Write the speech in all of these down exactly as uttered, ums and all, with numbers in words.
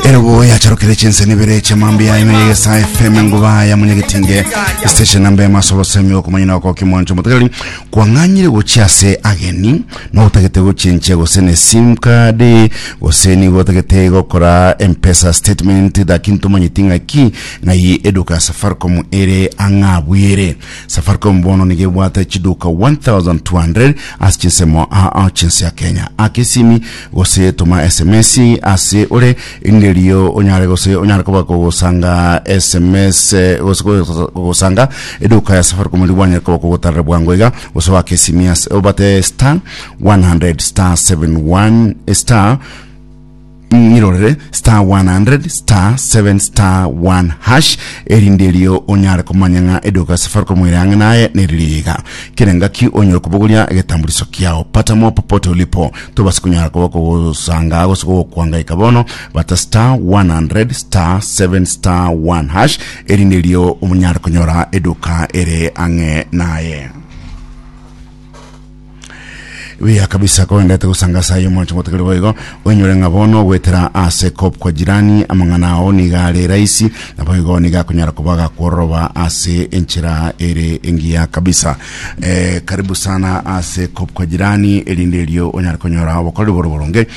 Erobo yacharokire chinseni bere chiamambia ime yegesa F M nguba ya munyagetinge station namba emaso bosemi okomanyina oko kimwancho motegereri kwang'anyire gochia ase ageni notagete gochenchia gose ne SIM card gose nigo otagete gokora M-Pesa statement, lakini tomanyeti ng'aki ng'ai eduka ya Safaricom ere ang'abwere. Safaricom bono nigo ebwate chiduka elfu moja mia mbili ase chinsemo ao chinse ya Kenya. Aka esimi gose toma S M S ase ore inderio onyare gose onyare koba kogosanga S M S eh, gose kogosanga eduka ya Safaricom eri bwanyare koba kogotarera bwango iga gose waka esimi ase obate star one hundred star seventy-one star ng'irorere star one hundred star seven star one hash erinderio onyare komanya ng'a eduka ya Safaricom ere ang'e naye neririga kere ngaki onyore kobogoria egetambuliso kiao. Pata mo popote ulipo tobasi konyara koba kogosanga gose kogokwangaika bono bata star one hundred star seven star one hash erinderio omonyare konyora eduka ere ang'e naye buya kabisa koendete gusanga sayo mwancho motegere boigo oinyore ng'a bono gwetera ase Koop Kwa Jirani amang'ana ao niga are rahisi na boigo niga akonyara kuba gakworoba ase enchera ere engiya kabisa. eh, karibu sana ase Koop Kwa Jirani erinde erio onyare konyora obokoreri boro boronge.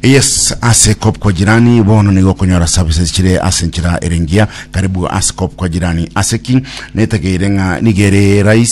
Yes, ase Koop Kwa Jirani bono nigo okonyora services chire ase enchera ere engiya. Karibu ase Koop Kwa Jirani ase ki netegeire ng'a nigere rahisi.